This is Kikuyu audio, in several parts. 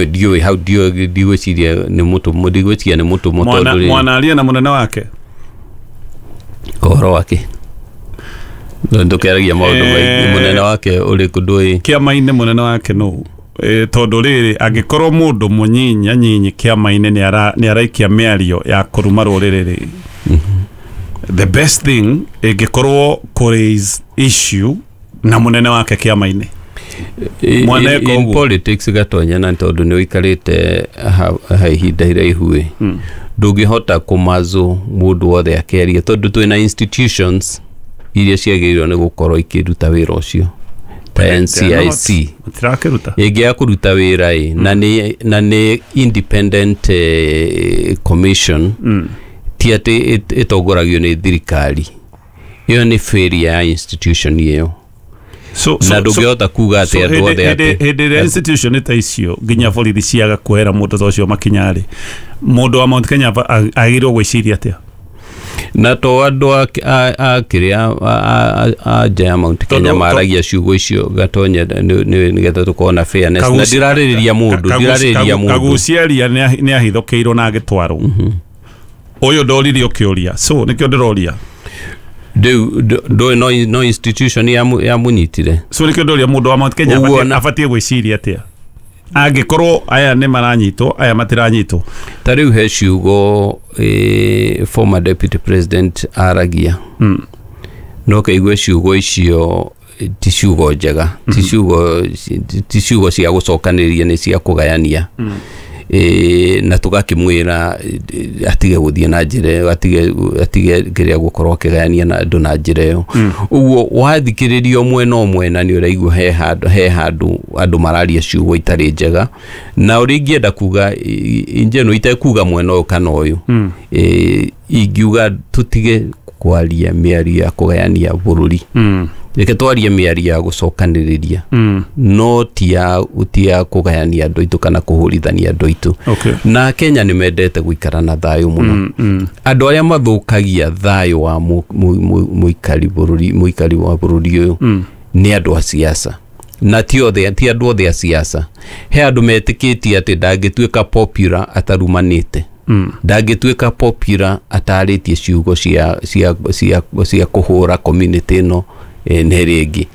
Ndiũĩ hau, ndiũĩ, ndigwĩciria nĩ mũtũmwo, ndigwĩciria nĩ mũtũmwo. Mwana Tondũ rĩ mwana aria na mũnene wake. Ũhoro wake ndũkĩaragia maũndũ maingĩ. Mũnene wake ũrĩkũ? Ndũĩ. Kĩama-inĩ mũnene wake nũ? Tondũ rĩrĩ, angĩkorwo mũndũ mũnyinya nyinyi kĩama-inĩ nĩ araikia mĩario ya kũruma rũrĩrĩ rĩ, the best thing ĩngĩkorwo kũ raise issue na mũnene wake kĩama-inĩ. Mwana eka In ũguo. politics, Gatonya, na tondũ nĩ ũikarĩte ha ihinda iraihu ĩ, ndũngĩhota kũmazũ mũndũ wothe akĩaria, tondũ twĩna institutions iria ciagĩrĩirwo nĩ gũkorwo ikĩruta wĩra ũcio ta NCIC. Matirakĩruta. Ĩngĩaga kũruta wĩra ĩ, na nĩ independent commission, ti atĩ ĩtongoragio nĩ thirikari. Ĩyo nĩ failure ya institution ĩyo. Na ndũngĩhota kuga atĩ andũ othe atĩ Hĩndĩ ĩrĩa institution ta icio, nginya borithi, ciaga kuoera mũndũ ta ũcio makinya rĩ, mũndũ wa Mount Kenya agĩrĩirwo gwĩciria atĩa? Na to andũ a kĩrĩa a nja ya Mount Kenya maragia ciugo icio, Gatonya, nĩgetha tũkorwo na fairness na ndirarĩrĩria mũndũ, ndirarĩrĩria mũndũ. Kaguciaria nĩ ahithũkĩirwo na agĩtwarwo. Ũyũ ndoririo kĩũria, so nĩkĩo ndĩroria. Rĩu ndũĩ no institution yamũnyitire. So nĩkĩo ndoria, mũndũ wa Mount Kenya Ũguo abatiĩ gwĩciria atĩa angĩkorwo aya nĩ maranyitwo, aya matiranyitwo? Ta rĩu he ciugo former deputy president aragia, no kaigue ciugo icio ti ciugo njega, ti ciugo cia gũcokanĩrĩria, nĩ cia kũgayania. Na tũgakĩmwĩra atige gũthiĩ na njĩra ĩyo, atige kĩrĩa gũkorwo akĩgayania na andũ na njĩra ĩyo. Ũguo wathikĩrĩria mwena o mwena nĩ ũraigua he handũ andũ mararia ciugo itarĩ njega. Na ũrĩa ingĩenda kuga in general, itekuga mwena ũyũ kana ũyũ, ingiuga tũtige kwaria mĩario ya kũgayania bũrũri. Reke twarie mĩario ya gũcokanĩrĩria, no ti ya kũgayania andũ aitũ kana kũhũrithania andũ aitũ. Na Kenya nĩ mendete gũikara na thayũ mũno. Andũ arĩa mathũkagia thayũ wa mũikari bũrũri, mũikari wa bũrũri ũyũ, nĩ andũ a siasa. Na ti othe, ti andũ othe a siasa. He andũ metĩkĩtie atĩ ndangĩtuĩka popular atarumanĩte, ndangĩtuĩka popular atarĩtie ciugo cia kũhũra community ĩno na ĩrĩa ĩngĩ.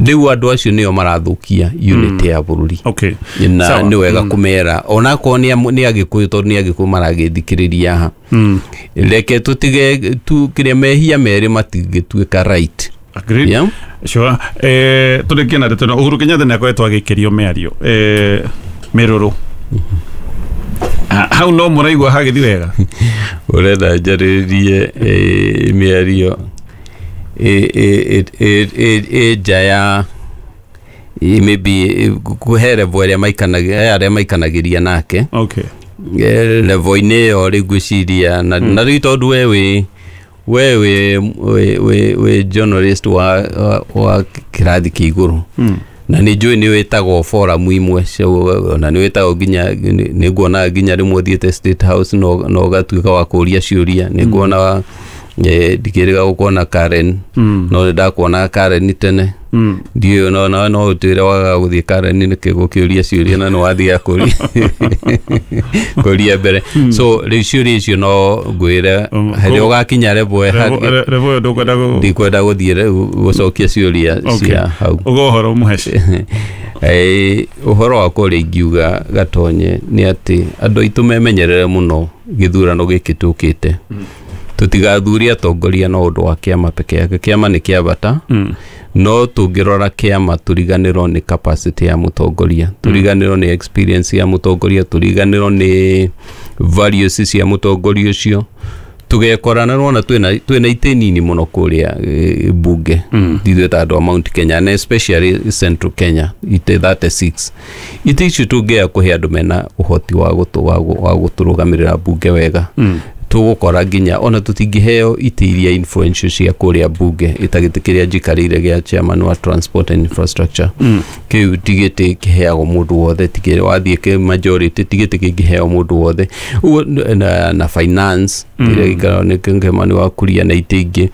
Rĩu andũ acio nĩo marathũkia unity ya bũrũri. Na nĩ wega kũmera onakorwo nĩ Agĩkũyũ, tondũ nĩ Agĩkũyũ maragĩthikĩrĩria haha. Reke tũtige tu kĩrĩa mehia merĩ matingĩtuĩka right. Agreed. Yeah? Sure. Tũrĩkie na ndeto ĩno. Uhuru Kenyatta nĩ akoretwo agĩikĩrio mĩario mĩrũrũ. Hau no mũraigua hagĩthi wega? Ũrenda njarĩrĩrie mĩario ĩ nja ya maybe kũhe level ĩrĩa maikanagia, arĩa maikanagĩria nake. Level-inĩ ĩyo rĩu ngwĩciria na rĩu tondũ we wĩ journalist wa kĩrathi kĩa igũrũ, na nĩ njũĩ nĩ wĩtagwo forum imwe ona nĩ wĩtagwo nginya nĩ nguona nginya rĩmwe ũthiĩte State House na ũgatuĩka wa kũria ciũria. Nĩ nguona ndikĩrĩga gũkuona Karen, no nĩ ndakuona Karen tene. Ndiũĩ no no no ũtwĩre wagaga gũthiĩ Karen nĩkĩ gũkĩũria ciũria, na nĩ wathiaga kũria mbere. So rĩu ciũria icio no ngwĩre harĩa ũgakinya level Level ĩyo ndũkwenda ndikwenda gũthiĩ rĩu gũcokia ciũria cia hau. Uga ũhoro mũheci. Ũhoro wakwa ũrĩa ingiuga, Gatonye, nĩ atĩ andũ aitũ memenyerere mũno gĩthurano gĩkĩ tũkĩte. Tũtigathure atongoria no ũndũ wa kĩama peke yake. Kĩama nĩ kĩa bata, no tũngĩrora kĩama tũriganĩrwo nĩ capacity ya mũtongoria, tũriganĩrwo nĩ experience ya mũtongoria, tũriganĩrwo nĩ values cia mũtongoria ũcio, tũgekora na rwona twĩna itĩ nini mũno kũrĩa bunge. Ithuĩ ta andũ a Mount Kenya na especially Central Kenya, itĩ 36, itĩ icio tũngĩaga kũhe andũ mena ũhoti wa gũtũrũgamĩrĩra bunge wega, tũgũkora nginya ona tũtingĩheo itĩ iria influential cia kũrĩa bunge, ĩta gĩtĩ kĩrĩa njikarĩire gĩa chairman wa transport and infrastructure. Kĩu ti gĩtĩ kĩheagwo mũndũ wothe, ti kĩrĩa wathiĩ kĩ majority, ti gĩtĩ kĩngĩheo mũndũ wothe. Ũguo na finance kĩrĩa gĩikaragwo nĩ Kĩmani wa Kuria na itĩ ingĩ.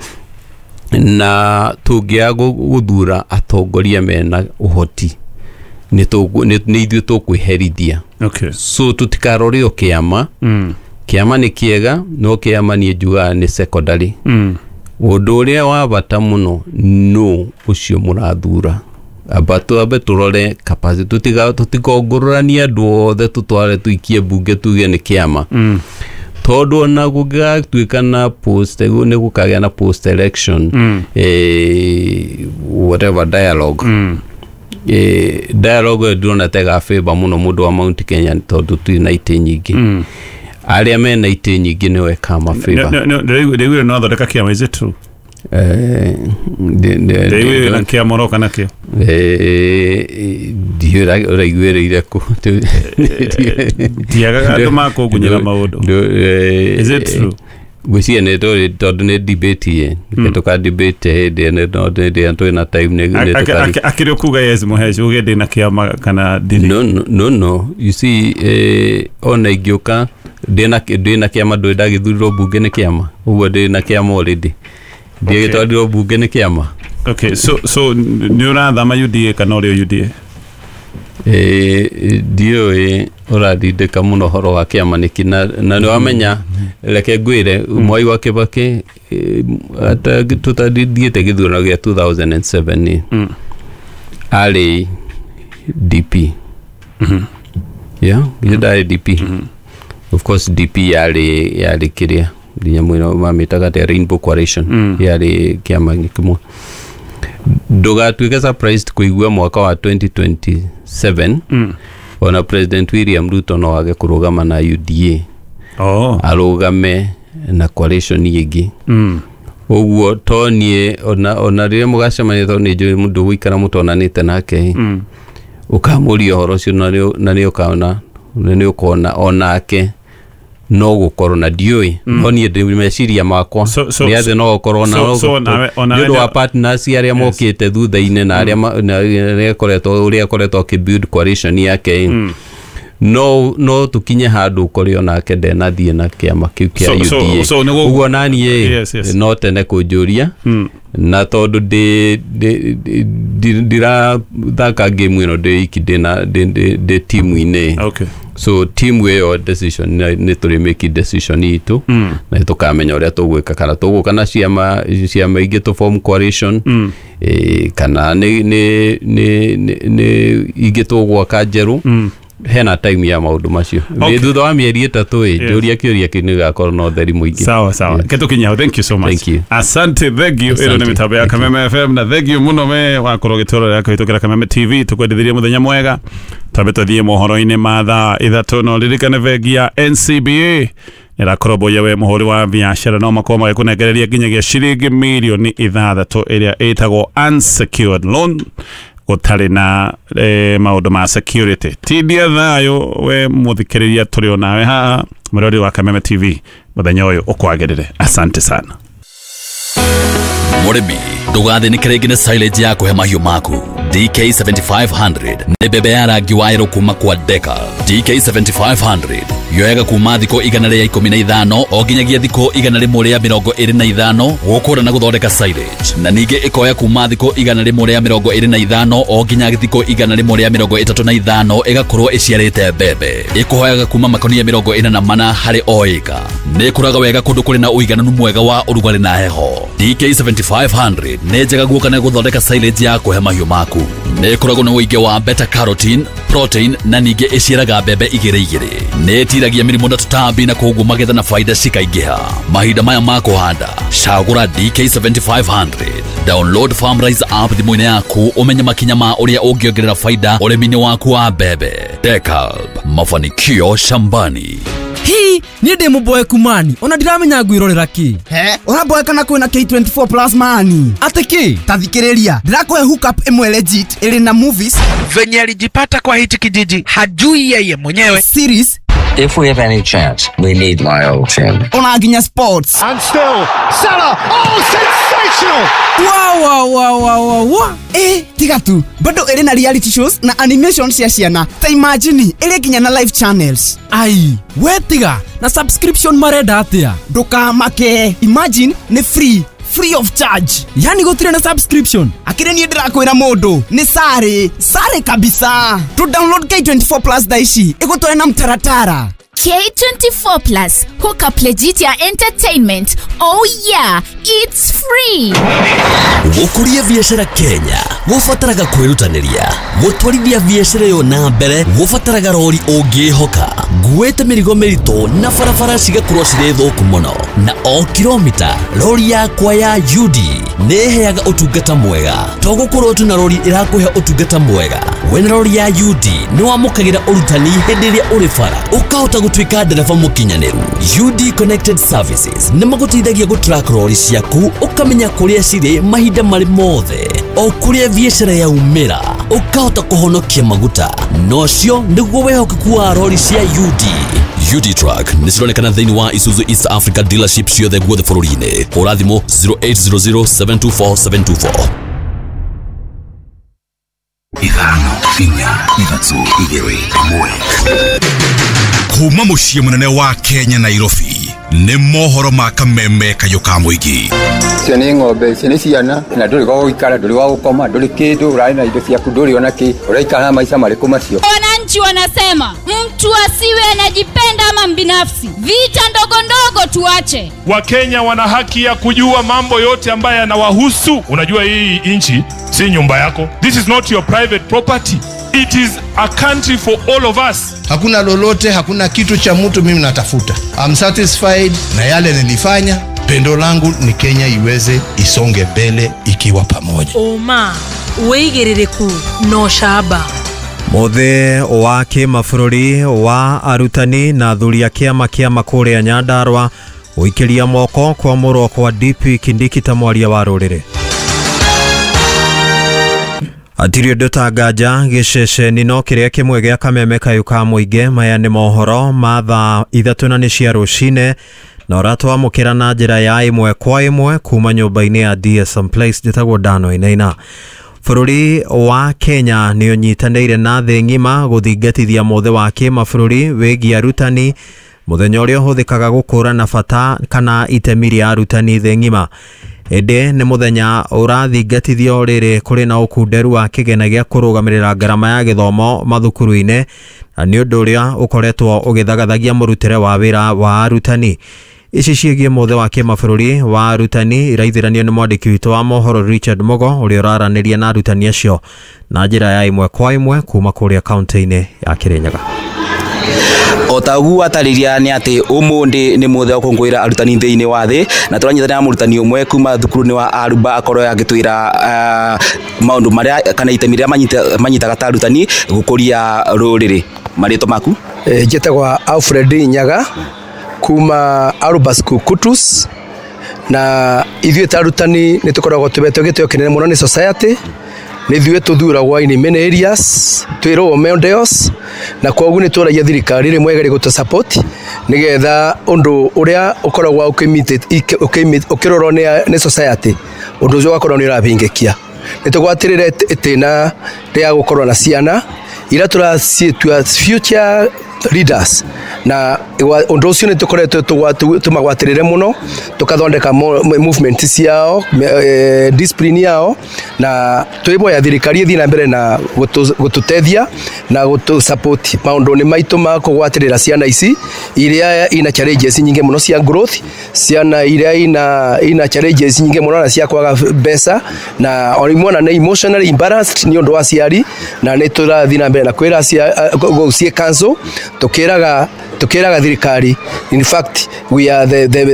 Na tũngĩaga gũthura atongoria mena ũhoti Nĩ ithuĩ tũkwĩherithia. Okay. So tũtikarore o kĩama. Kĩama nĩ kĩega, no kĩama niĩ njugaga nĩ secondary. Ũndũ ũrĩa wa bata mũno no ũcio mũrathura. Amba twambe tũrore capacity, tũtikongũrũranie andũ othe tũtware tũikie mbunge tuge nĩ kĩama. Tondũ ona gũngĩgatuĩka na post, nĩ gũkagĩa na post election, whatever dialogue. Dialogue ĩyo ndĩrona ta ĩgabĩba mũno mũndũ wa Mount Kenya tondũ tũtirĩ na itĩ nyingĩ. Arĩa mena itĩ nyingĩ nĩo ĩkamabĩba. Ndĩraiguire no athondeka kĩama, is it true? Ndĩraiguire na kĩama ũroka nakĩo. Ndiũĩ ũraiguĩrĩire kũ. Ndiagaga andũ makũngunyĩra maũndũ. Is it true? Ngwĩciria nĩ tondũ nĩ debate ĩ. Tũka debate hĩndĩ ĩno hĩndĩ ĩrĩa twĩ na time nĩ tũkari. Akĩrĩ ũkuga yes Mũheci uge ndĩ na kĩama kana ndirĩ. No. You see, ona ingĩũka ndĩ na kĩama, ndũrĩ ndagĩthurirwo mbunge nĩ kĩama. Ũguo ndĩ na kĩama already. Ndiagĩtwarirwo mbunge nĩ kĩama. Okay, so nĩ ũrathama UDA kana ũrĩ o UDA? Ndiũĩ ũratindĩka mũno ũhoro wa kĩama nĩkĩ, na nĩ wamenya, reke ngwĩre, Mwai wa Kĩbakĩ tũtathiĩte gĩthurano gĩa 2007 arĩ DP. Yeah, githĩ ndarĩ DP? Of course DP yarĩ kĩrĩa nginya mwena mamĩtaga atĩa, Rainbow Coalition, yarĩ kĩama kĩmwe. Ndũgatuĩke surprised kũigua mwaka wa 2027 ona President William Ruto no age kũrũgama na UDA. Arũgame na coalition ĩngĩ. Ũguo to niĩ ona rĩrĩa mũgacemania, tondũ nĩ njũĩ mũndũ gũikara mũtonanĩte nake, ũkamũria ũhoro ũcio na nĩ ũkona, nĩ ũkona onake no gũkorwo na ndiũĩ, no niĩ ndĩ meciria makwa nĩ atĩ no gũkorwo na nĩ ũndũ wa partners arĩa mokĩte thutha-inĩ na arĩa ũrĩa akoretwo akĩbuild coalition yake. No tũkinye handũ ũkore onake ndenathiĩ na kĩama kĩu kĩa UDA. Ũguo naniĩ no tene kũnjũria, na tondũ ndirathaka game ĩno ndĩ iki, ndĩ timu-inĩ. So timu ĩyo decision nĩ tũrĩ make decision itũ, na tũkamenya ũrĩa tũgwĩka, kana tũgũka na ciama ingĩ tũ form coalition, kana nĩ ingĩ tũgwaka njerũ. Hena time ya maũndũ macio. Thutha wa mĩeri 3 ĩ, njũria kĩũria kĩu nĩgĩgakorwo na ũtheri mũingĩ. Sawa sawa. Ketukinya, thank you so much. Thank you. Asante, thank you. Ĩno nĩ mĩtambo ya Kameme FM na thank you mũno me wakorwo ũgĩtũrorera kũhĩtũkĩra Kameme TV. Tũkwendithirie mũthenya mwega. Twambe tũthiĩ mohoro-inĩ ma thaa 3, no ririkane bengi ya NCBA ĩrakoromboia we mũhũri wa biacara no makorwo magĩkũnengereria nginyagia ciringi mirioni 6 ĩrĩa ĩtagwo unsecured loan gũtarĩ na maũndũ ma security. Tindia thayũ we mũthikĩrĩria, tũrĩ onawe haha mũrori wa Kameme TV mũthenya ũyũ ũkwagĩrĩre. Asante sana. Mũrĩmi, ndũgathĩnĩke rĩngĩ nĩ silage ya kũhe mahiũ maku. DK7500 nĩ mbembe ya rangi wa yerũ kuma kwa Deka. DK7500 yoyaga kuma thikũ 115 o nginyagia thikũ 125 gũkũra na gũthondeka silage, na ningĩ ĩkoya kuma thikũ 125 o nginya thikũ 135 ĩgakorwo ĩciarĩte mbembe. Ĩkũhoyaga kuma makonia 44 harĩ o ĩka. Nĩ ĩkũraga wega kũndũ kũrĩ na ũigananu mwega wa ũrugarĩ na heho. DK7500 nĩ njega guoka na gũthondeka silage ya kũhe mahiũ maku. Nĩ ĩkoragwo na ũingĩ wa beta carotene, protein na ningĩ ĩciaraga mbembe 2 2. Nĩ ĩtiragia mĩrimũ na tũtambi na koguo magetha na faida cikaingĩha. Mahinda maya ma kũhanda, cagũra DK7500. Download FarmRise app thimũ-inĩ yaku ũmenye makinya ma ũrĩa ũngĩongerera faida ũrĩmi-inĩ waku wa mbembe. Dekalb, mafanikio shambani. Hi, niĩ ndĩ mũboeku mani, ona ndiramenya ngwĩrorera kĩ. He, ũraboeka na kwĩna K24 plus mani. Atĩ kĩ? Ta thikĩrĩria, ndĩrakũhe hookup ĩmwe legit ĩrĩ na movies. Venye alijipata kwa hichi kijiji hajui yeye mwenyewe. Series. If we have any chance, we need my old team. Ona nginya sports. And still, Salah, oh, sensational! Wow, wow, wow, wow, wow. Tiga tu, bado ĩrĩ na reality shows na animation cia ciana. Ta imagine, ĩrĩ nginya na live channels. Ai, we tiga, na subscription marenda atia? Ndũkamake, imagine nĩ free. Free of charge. Yani gũtirĩ na subscription. Akĩrĩ niĩ ndĩrakwĩra mũndũ nĩ sare sare kabisa. To download K24 Plus thaa ici ĩgũtware na mtaratara. K24 Plus, hook up legit ya entertainment. Oh yeah, it's free. Gũkũria biacara Kenya gũbataraga kwĩrutanĩria, gũtwarithia biacara ĩyo na mbere gũbataraga rori ũngĩhoka, nguĩte mĩrigo mĩritũ na barabara cigakorwo cirĩ thũku mũno, na o kilomita rori yakwa ya UD nĩ ĩheaga ũtungata mwega. To gũkorwo tu na rori ĩrakũhe ũtungata mwega, wena rori ya UD nĩ wamũkagĩra ũrutani hĩndĩ ĩrĩa ũrĩ bara, ũkahota gũtuĩka ndereba mũkinyanĩru. UD Connected Services nĩ magũteithagia gũtrack rori ciaku, ũkamenya kũrĩa cirĩ mahinda marĩ mothe, o kũrĩa biacara yaumĩra, ũkahota kũhonokia maguta. Nocio nĩguo wĩhokeku wa rori cia UD. UD Truck nĩ cironekana thĩinĩ wa Isuzu East Africa dealership ciothe guothe bũrũri-inĩ. Hũra thimũ 0800 724 724. 5 4 3 2 1. Kuma mũciĩ mũnene wa Kenya Nairobi nĩ mohoro ma kameme kayũ ka mũingĩ. Icio nĩ ng'ombe, icio nĩ ciana, na ndũrĩ gwa gũikara, ndũrĩ gwa gũkoma, ndũrĩ kĩndũ, ũrarĩ na indo ciaku, ndũrĩ ona kĩ, ũraikara na maica marĩkũ macio? Wananchi wanasema mtu asiwe anajipenda ama mbinafsi, vita ndogo ndogo tuache. Wakenya wana haki ya kujua mambo yote ambayo yanawahusu. Unajua hii nchi si nyumba yako. This is not your private property. It is a country for all of us. Hakuna lolote, hakuna kitu cha mtu mimi natafuta. I'm satisfied na yale nilifanya. Pendo langu ni Kenya iweze isonge mbele ikiwa pamoja. Oma, wĩigĩrĩrĩku no shaba. Mũthĩ wa kĩmabũrũri wa arutani na athuri a kĩama kĩa kũrĩa Nyandarua gũikĩria moko kwamũrwo kwa DP Kindiki ta mwaria wa rũrĩrĩ. Atirĩ ũndũ ta nganja gĩceceni no kĩrĩa kĩmwe gĩa kameme kayũ ka mũingĩ. Maya nĩ mohoro ma thaa 3 na nĩ cia rũcinĩ, na ũratwamũkĩra na njĩra ya 1 kwa 1 kuma nyũmba-inĩ ya DSM Place. Njĩtagwo Dano Inaina. Bũrũri wa Kenya nĩ ũnyitanĩire na thĩ ng'ima gũthingatithia mũthĩ wa kĩmabũrũri wĩgiĩ arutani, mũthenya ũrĩa ũhũthĩkaga gũkũrana bata kana itemi rĩa arutani thĩ ng'ima. Ĩndĩ nĩ mũthenya ũrathingatithio rĩrĩ kũrĩ na ũkunderu wa kĩgena gĩa kũrũgamĩrĩra ngarama ya gĩthomo mathukuru-inĩ, na nĩ ũndũ ũrĩa ũkoretwo ũgĩthagathagia mũrutĩre wa wĩra wa arutani. Ici ciĩgiĩ mũthĩ wa kĩmabũrũri wa arutani iraithiranio nĩ mwandĩki witũ wa mohoro Richard Mugo, ũrĩa ũraranĩria na arutani acio na njĩra ya 1 kwa 1 kuma kũrĩa kaunti-inĩ ya Kirinyaga. O ta ũguo atarĩria nĩ atĩ ũmũthĩ nĩ mũthĩ wa gũkũngũĩra arutani thĩinĩ wa thĩ, na tũranyitanĩra na mũrutani ũmwe kuma thukuru-inĩ wa Aruba akorwo agĩtwĩra maũndũ marĩa kana itemi rĩrĩa manyitaga ta arutani gũkũria rũrĩrĩ. Marĩtwa maku? Njĩtagwo Alfred Nyaga kuma Aruba School Kutus, na ithuĩ ta arutani nĩ tũkoragwo tũhetwo gĩtĩo kĩnene mũno nĩ society. Nĩ ithuĩ tũthuragwo in many areas, twĩrwo models, na kwoguo nĩ tũragia thirikari rĩmwe ĩgerie gũtũ support nĩgetha ũndũ ũrĩa ũkoragwo ũkĩrorwo nĩ society, ũndũ ũcio ũgakorwo nĩ ũrabingĩkia. Nĩ tũgwatĩrĩre itĩna rĩa gũkorwo na ciana iria tũraciĩtua future leaders, na ũndũ ũcio nĩ tũkoretwo tũmagwatĩrĩre mũno, tũkathondeka movement ciao, discipline yao, na twĩboya thirikari ĩthiĩ na mbere na gũtũteithia na gũtũ support maũndũ-inĩ maitũ ma kũgwatĩrĩra ciana ici iria ina challenges nyingĩ mũno cia growth, ciana iria ina challenges nyingĩ mũno na cia kwaga mbeca, na o rĩmwe ona nĩ emotionally imbalanced nĩ ũndũ wa aciari, na nĩ tũrathiĩ na mbere na kwĩra gũciĩ council tukiraga thirikari. In fact, we are the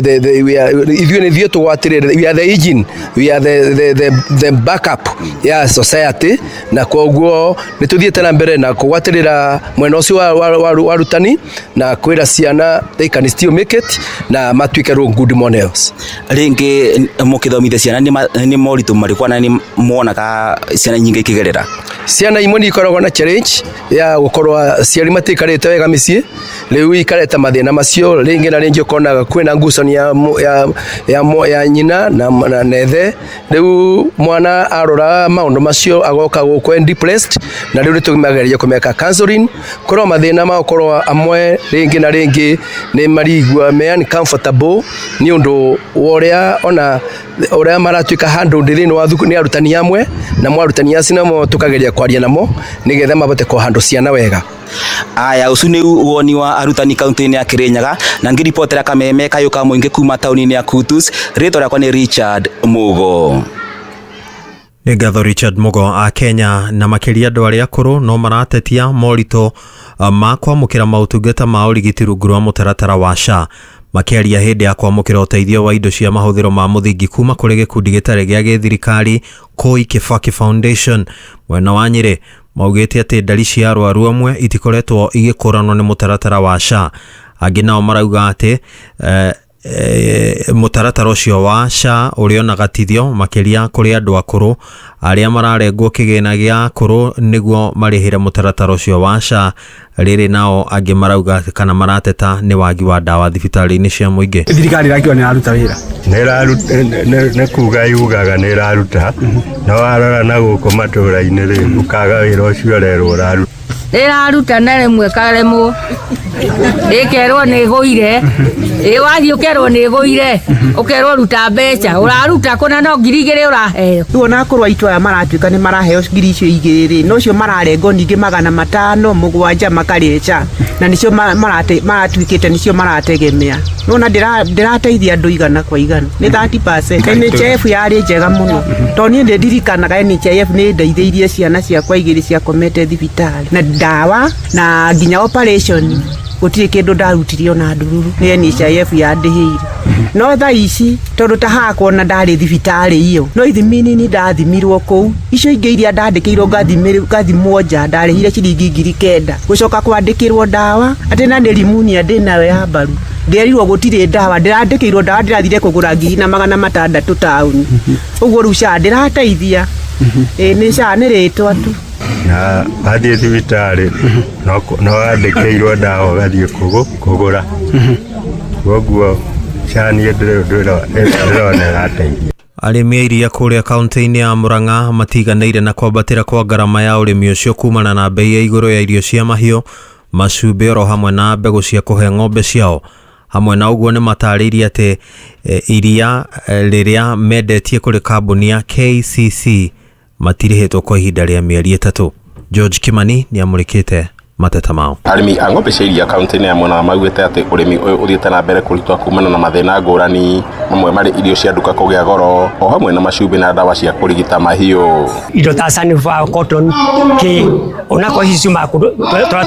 we are ithuĩ nĩ ithuĩ tũgwatĩrĩre, we are the engine, we are the backup ya society, na koguo nĩ tũthiĩte na mbere na kũgwatĩrĩra mwena ũcio wa arutani na kwĩra ciana they can still make it na matuĩke role good models. Rĩngĩ mũkĩthomithia ciana nĩ moritũ marĩkũ na nĩ muonaga ciana nyingĩ ikĩgerera? Ciana imwe nĩ ikoragwo na challenge ya gũkorwo aciari matiikarĩte wega mĩciĩ, Rĩu ikareta mathĩna macio rĩngĩ na rĩngĩ, ũkonaga kwĩna ngucanio ya nyina na nethe. Rĩu mwana arora maũndũ macio agoka gũkũ depressed, na rĩu nĩtũmageria kũmeka counseling. Korwo mathĩna ma gũkorwo amwe rĩngĩ na rĩngĩ nĩ marigua me uncomfortable nĩ ũndũ wa ũrĩa ona ũrĩa maratuĩka handled thĩinĩ wa thukuru nĩ arutani amwe, na mo arutani acio namo tũkageria kwaria namo nĩgetha mahote kũhandle ciana wega. Aya, ũcio nĩ woni wa arutani kaunti-inĩ ya Kirinyaga, na ngĩribotera kameme kayũ ka mũingĩ kuma taũni-inĩ ya Kutus, rĩtwa rĩakwa nĩ Richard Mugo. Nĩ ngatho Richard Mugo. A Kenya na makĩria andũ arĩa akũrũ no maratetia moritũ ma kwamũkĩra maũtungata ma ũrigiti rungu rwa mũtaratara wa SHA. Makĩaria hĩndĩ ya kwamũkĩra ũteithio wa indo cia mahũthĩro ma mũthingi kuma kũrĩ gĩkundi gĩtarĩ gĩa gĩthirikari Koi Kibaki Foundation mwena wa Nyĩrĩ, maugĩte atĩ ndari cia arwaru amwe itikoretwo igĩkũranwo nĩ mũtaratara wa SHA. Angĩ nao marauga atĩ mũtaratara ũcio wa SHA ũrĩ gatithio makĩria kũrĩ andũ akũrũ arĩa mararengwo kĩgĩna gĩa akũrũ nĩguo marĩhĩre mũtaratara ũcio wa SHA. Rĩrĩ nao angĩ marauga kana marateta nĩ wagi wa ndawa thibitarĩ-inĩ cia mũingĩ. Thirikari ĩrakiuga nĩ ĩraruta wĩra. Nĩ kuga yugaga nĩ ĩraruta, no warora na gũkũ matũra-inĩ rĩ, ũkaga wĩra ũcio ũrerwo ũraruta. Ĩraruta na rĩmwe ĩkaremwo, ĩkerwo nĩ ĩgũire, ĩ wathiĩ ũkerwo nĩ ĩgũire, ũkerwo ruta mbeca, ũraruta kũna no 2,000 ũraheo. Rĩu ona akũrũ aitũ aya maratuĩka nĩ maraheo 2,000 icio rĩ, no cio mararengwo ningĩ 507 makarĩa SHA, na nĩcio maratuĩkĩte nĩcio marategemea. Nona ndĩrateithia andũ igana kwa igana nĩ 30%. NHIF yarĩ njega mũno, tondũ niĩ nĩ ndirikanaga NHIF nĩ ndeithĩirie ciana ciakwa igĩrĩ ciakomete thibitarĩ na ndawa na nginya operation, gũtirĩ kĩndũ ndarutire ona ndururu, nĩ NHIF yandĩhĩire. No thaa ici tondũ ta hakwa ona ndarĩ thibitarĩ iyo, no ithimi nini ndathimirwo kũu, icio ingĩ iria ndandĩkĩirwo ngathimwo nja ndarĩhire ciringi 9,000 gũcoka kwandĩkĩrwo ndawa atĩ na nĩ rimunia ndĩnayo ya mbaru, ndĩrerirwo gũtirĩ ndawa, ndĩrandĩkĩirwo ndawa ndĩrathire kũgũra 1,600 taũni. Ũguo rĩu SHA ndĩrateithia. Ĩ nĩ SHA nĩ rĩtwa tu. Na wathiĩ thibitarĩ no wandĩkĩirwo ndawa ũgathiĩ kũgũra, koguo SHA niĩ ndĩrona ĩrateithia. Arĩmi a iria kũrĩa kaunti-inĩ ya Murang'a matiganĩire na kwambatĩra kwa ngarama ya ũrĩmi ũcio kumana na bei ya igũrũ ya irio cia mahiũ, macumbĩ oro hamwe na mbegũ cia kũhe ng'ombe ciao. Hamwe na ũguo nĩ matarĩirie atĩ iria rĩrĩa mendetie kũrĩ kambuni ya KCC matirĩhĩtwo kwa ihinda rĩa mĩeri 3. George Kimani nĩ amũrĩkĩte mateta mao. Arĩmi a ng'ombe cia iria kaunti-inĩ ya Murang'a maugĩte atĩ ũrĩmi ũyũ ũthiĩte na mbere kũritũha kumana na mathĩna ngũrani, mamwe marĩ irio cia nduka kũgĩa goro o hamwe na macumbĩ na ndawa cia kũrigita mahiũ. Indo ta sunflower, cotton, kĩ onakorwo ici ciumaga kũndũ tũrĩa